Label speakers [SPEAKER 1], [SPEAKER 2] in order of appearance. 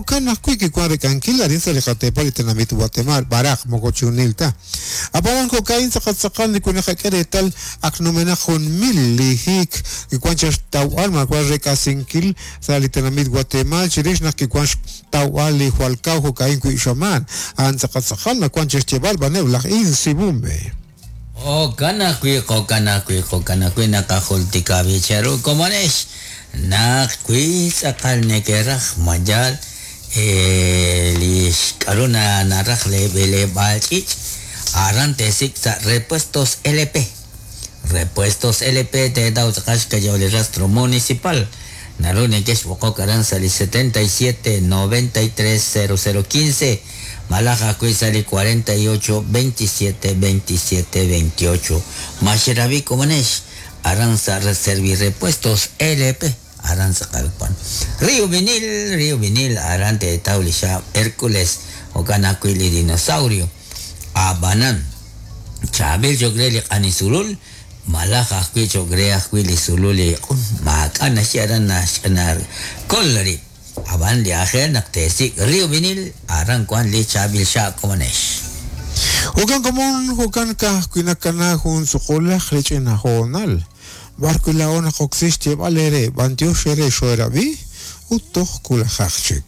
[SPEAKER 1] Jo'kan ajwi' kiwan rek'ankil arin sa' li qateepal li tenamit Watemaal, b'araq moko chunil ta. Ab'anan jo'ka'in tz'aqal tz'aqal li wi naqak'e reetal ak numenaq jun mil li hiik kiwan chaq xtawb'al maawa' rek'asinkil sa' li tenamit Watemaal chirix naq kiwan xtawb'al li jwal kaw jo'ka'in wi' xamaan. A'an tz'aqal tz'aqal nawan chaq xyeeb'al b'aneb' laj Insibumbe.
[SPEAKER 2] Jo'kan ajwi', jo'kan ajwi', jo'kan ajwi' naqajultika b'i' cheru komonex naq wi tz'aqal nekeraj ma yaal li k'a'ru naraj lee b'eleb'aal ch'iich', aran teesik' sa' Repuestos LP. Repuestos LP teetaw tz'aqal xkayaw li rastro municipal. Naru nekexb'oqok aran sa' li 77 93 00 15 malaj ajwi' sa' li 48 27 27 28. Ma xerab'i komonex aran sa' Servirepuestos LP aran tz'aqal wan. Rio Vinil, Rio Vinil aran teetaw li xaab' Hercules jo'kan ajwi' li dinosaurio. A'b'anan, chaab'il cho'q re li q'ani sulul malaj ajwi' cho'q re ajwi' li sulul li q'un maak'a' naxye aran naxkol rib'. Ab'an li aajel naq teesik' Rio Vinil aran wan li chaab'il xaab' komonex.
[SPEAKER 1] Jo'kan komon, jo'kan ka'ajwi' nakana jun suqulaq li ch'ina hoonal, b'ar wi' laa'o naqoksi xyeeb'al eere b'antiox eere xoo'erab'i ut toj wulajaq chik.